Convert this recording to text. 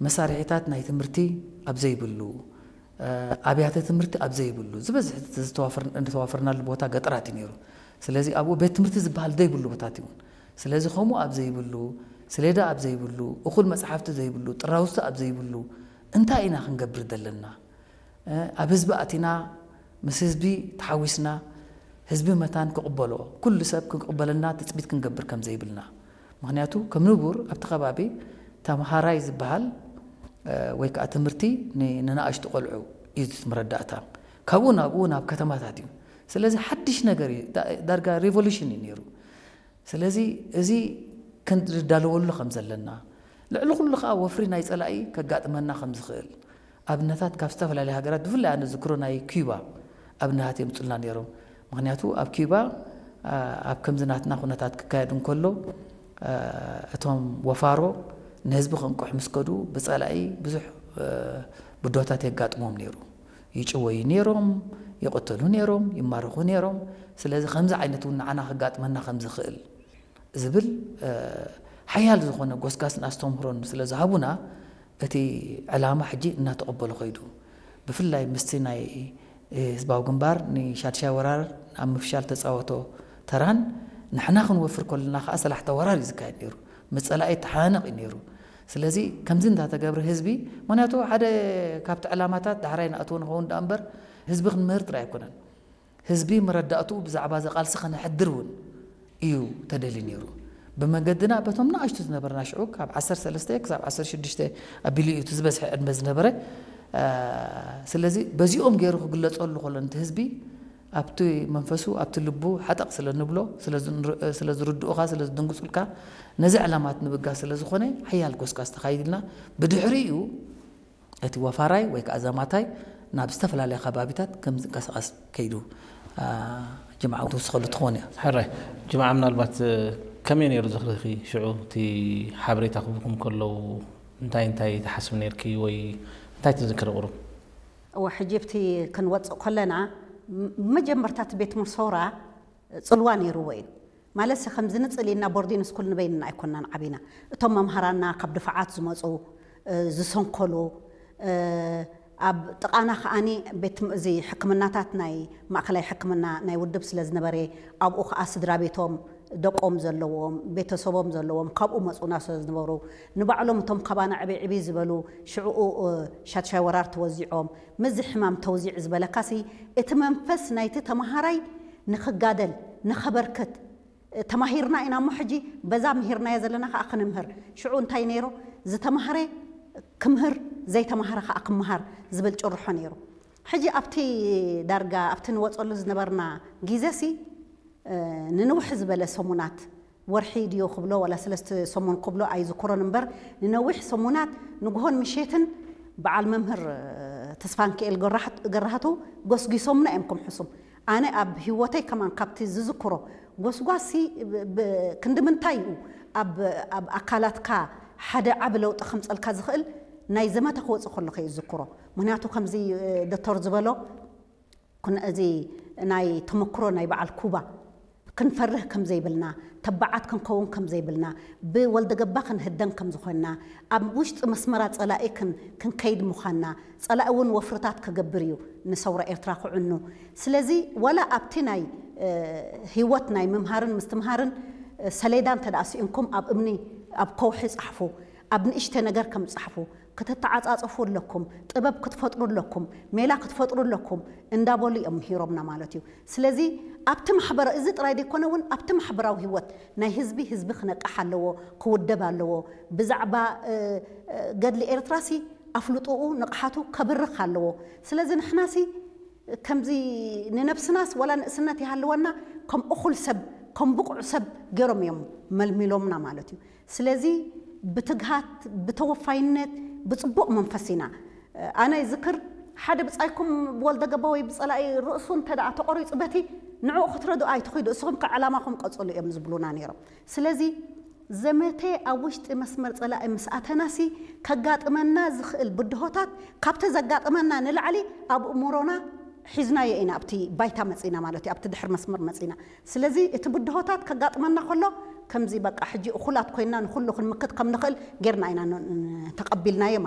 መሳርሒታት ናይ ትምህርቲ ኣብ ዘይብሉ፣ ኣብያተ ትምህርቲ ኣብ ዘይብሉ፣ ዝበዝሕ ዝተዋፈርናሉ ቦታ ገጠራት እዩ ነይሩ። ስለዚ ኣብኡ ቤት ትምህርቲ ዝበሃል ዘይብሉ ቦታት እዩ። ስለዚ ከምኡ ኣብ ዘይብሉ፣ ስሌዳ ኣብ ዘይብሉ፣ እኹል መጽሓፍቲ ዘይብሉ፣ ጥራውዝቲ ኣብ ዘይብሉ እንታይ ኢና ክንገብር ዘለና? ኣብ ህዝቢ ኣቲና፣ ምስ ህዝቢ ተሓዊስና፣ ህዝቢ መታን ክቕበሎ፣ ኩሉ ሰብ ክቕበለና ትጽቢት ክንገብር ከም ዘይብልና። ምኽንያቱ ከም ንቡር ኣብቲ ከባቢ ተምሃራይ ዝበሃል ወይ ከዓ ትምህርቲ ንንኣሽቱ ቆልዑ እዩ እቲ መረዳእታ። ካብኡ ናብኡ ናብ ከተማታት እዩ። ስለዚ ሓድሽ ነገር እዩ። ዳርጋ ሪቮሉሽን እዩ ነይሩ። ስለዚ እዚ ክንዳለወሉ ከም ዘለና፣ ልዕሊ ኩሉ ከዓ ወፍሪ ናይ ፀላኢ ከጋጥመና ከም ዝኽእል ኣብነታት ካብ ዝተፈላለዩ ሃገራት፣ ብፍላይ ኣነ ዝክሮ ናይ ኪዩባ ኣብነታት የምፁልና ነይሮም። ምክንያቱ ኣብ ኪዩባ ኣብ ከምዚ ናትና ኩነታት ክካየድ እንከሎ እቶም ወፋሮ ንህዝቢ ከንቅሑ ምስ ከዱ ብፀላኢ ብዙሕ ብድሆታት የጋጥሞም ነይሩ። ይጭወዩ ነይሮም፣ ይቕተሉ ነይሮም፣ ይማረኹ ነይሮም። ስለዚ ከምዚ ዓይነት እውን ንዓና ከጋጥመና ከም ዝኽእል ዝብል ሓያል ዝኾነ ጎስጋስን ኣስተምህሮን ስለ ዝሃቡና እቲ ዕላማ ሕጂ እናተቐበሎ ከይዱ። ብፍላይ ምስቲ ናይ ህዝባዊ ግንባር ንሻድሻይ ወራር ኣብ ምፍሻል ተፃወቶ ተራን ንሕና ክንወፍር ከለና ከዓ ሰላሕታ ወራር እዩ ዝካየድ ነይሩ። ምስ ፀላኢ ተሓናነቕ እዩ ነይሩ። ስለዚ ከምዚ እንዳተገብረ ህዝቢ፣ ምክንያቱ ሓደ ካብቲ ዕላማታት ዳሕራይ ንኣትዎ ንኸውን ደኣ እምበር ህዝቢ ክንምህር ጥራይ ኣይኮነን። ህዝቢ መረዳእትኡ ብዛዕባ እዚ ቃልሲ ከነሕድር እውን እዩ ተደልዩ ነይሩ። ብመንገድና በቶም ንኣሽቱ ዝነበርና ሽዑ ካብ ዓሰርተ ሰለስተ ክሳብ ዓሰርተ ሽዱሽተ ኣቢሉ እዩ እቲ ዝበዝሐ ዕድመ ዝነበረ። ስለዚ በዚኦም ገይሩ ክግለጸሉ ከሎ ነቲ ህዝቢ ኣብቲ መንፈሱ ኣብቲ ልቡ ሓጠቕ ስለ ንብሎ ስለ ዝርድኡኻ ስለ ዝድንግጹልካ ነዚ ዕላማት ንብጋ ስለ ዝኾነ ሓያል ጎስጋስ ተኻይድልና ብድሕሪኡ እቲ ወፋራይ ወይ ከዓ ዘማታይ ናብ ዝተፈላለያ ከባቢታት ከም ዝንቀሳቐስ ከይዱ ጅምዓ ክትውስኸሉ ትኸውን እያ። ሕራይ ጅምዓ ምናልባት ከመይ ነይሩ ዝኽርኺ ሽዑ እቲ ሓበሬታ ክህቡኩም ከለዉ እንታይ እንታይ ትሓስብ ነርኪ ወይ እንታይ ትዝክሪ ቁሩብ? እወ ሕጂ ብቲ ክንወፅእ ከለና መጀመርታ እቲ ቤት ትምህርቲ ሰውራ ፅልዋ ነይርዎ እዩ። ማለትሲ ከምዚ ንፅል ኢልና ቦርዲን ስኩል ንበይንና ኣይኮንናን ዓቢና። እቶም መምሃራና ካብ ድፋዓት ዝመፁ ዝሰንከሉ ኣብ ጥቓና ከዓኒ ቤት እዚ ሕክምናታት ናይ ማእከላይ ሕክምና ናይ ውድብ ስለ ዝነበረ ኣብኡ ከዓ ስድራ ቤቶም ደቆም ዘለዎም ቤተሰቦም ዘለዎም ካብኡ መፁና ስለ ዝነበሩ ንባዕሎም እቶም ካባና ዕብይ ዕብይ ዝበሉ ሽዕኡ ሻድሻይ ወራር ተወዚዖም ምዚ ሕማም ተውዚዕ ዝበለካሲ እቲ መንፈስ ናይቲ ተምሃራይ ንኽጋደል ንኸበርክት ተማሂርና ኢና እሞ ሕጂ በዛ ምሂርናዮ ዘለና ከዓ ክንምህር ሽዑ እንታይ ነይሩ ዝተማህረ ክምህር ዘይተማህረ ከዓ ክምሃር ዝብል ጭርሖ ነይሩ ሕጂ ኣብቲ ዳርጋ ኣብቲ ንወፀሉ ዝነበርና ግዜሲ ንንውሕ ዝበለ ሰሙናት ወርሒ ድዮ ክብሎ ዋላ ሰለስተ ሰሙን ክብሎ ኣይዝክሮን እምበር ንነዊሕ ሰሙናት ንግሆን ምሸትን በዓል መምህር ተስፋንክኤል ገራህቱ ጎስጊሶምና እዮም ከም ሕሱም ኣነ ኣብ ህይወተይ ከማን ካብቲ ዝዝክሮ ጎስጓሲ ክንዲ ምንታይ እዩ ኣብ ኣካላትካ ሓደ ዓቢ ለውጢ ከምፀልካ ዝኽእል ናይ ዘመተ ክወፅእ ከለኹ እዩ ዝዝክሮ ምክንያቱ ከምዚ ዶክተር ዝበሎ እዚ ናይ ተመክሮ ናይ በዓል ኩባ ክንፈርህ ከም ዘይብልና ተባዓት ክንከውን ከም ዘይብልና ብወልደገባ ክንህደን ከም ዝኾንና ኣብ ውሽጢ መስመራ ፀላኢ ክንከይድ ምዃንና ፀላኢ እውን ወፍርታት ክገብር እዩ ንሰውራ ኤርትራ ክዕኑ ስለዚ ዋላ ኣብቲ ናይ ህይወት ናይ ምምሃርን ምስትምሃርን ሰሌዳ እንተ ደኣ ስኢንኩም ኣብ እምኒ ኣብ ከውሒ ፃሕፉ ኣብ ንእሽተ ነገር ከም ፃሕፉ ክትተዓፃፀፉ ኣለኩም፣ ጥበብ ክትፈጥሩ ኣለኩም፣ ሜላ ክትፈጥሩ ኣለኩም እንዳበሉ እዮም ምሂሮምና ማለት እዩ። ስለዚ ኣብቲ ማሕበራዊ፣ እዚ ጥራይ ዘይኮነ እውን ኣብቲ ማሕበራዊ ህይወት ናይ ህዝቢ፣ ህዝቢ ክነቅሕ ኣለዎ፣ ክውደብ ኣለዎ። ብዛዕባ ገድሊ ኤርትራሲ ኣፍልጦኡ ንቕሓቱ ከብርኽ ኣለዎ። ስለዚ ንሕናሲ ከምዚ ንነብስናስ ዋላ ንእስነት ይሃልወና ከም እኹል ሰብ ከም ብቑዕ ሰብ ገይሮም እዮም መልሚሎምና ማለት እዩ። ስለዚ ብትግሃት፣ ብተወፋይነት፣ ብፅቡቕ መንፈስ ኢና። ኣነ ይዝክር ሓደ ብፃይኩም ብወልደገባ ወይ ብፀላኢ ርእሱ እንተ ደኣ ተቖሪፁ በቲ ንዕኡ ክትረድኡ ኣይትኺዱ፣ እስኹም ከ ዕላማኹም ቀፅሉ እዮም ዝብሉና ነይሮም። ስለዚ ዘመተ ኣብ ውሽጢ መስመር ፀላኢ ምስ ኣተናሲ ከጋጥመና ዝኽእል ብድሆታት ካብቲ ዘጋጥመና ንላዕሊ ኣብ እምሮና ሒዝናዮ ኢና ኣብቲ ባይታ መፂና ማለት እዩ ኣብቲ ድሕር መስመር መፂና ስለዚ እቲ ብድሆታት ከጋጥመና ከሎ ከምዚ በቃ ሕጂ እኹላት ኮይና ንኩሉ ክንምክት ከም ንኽእል ጌርና ኢና ን- ን- ተቐቢልናዮ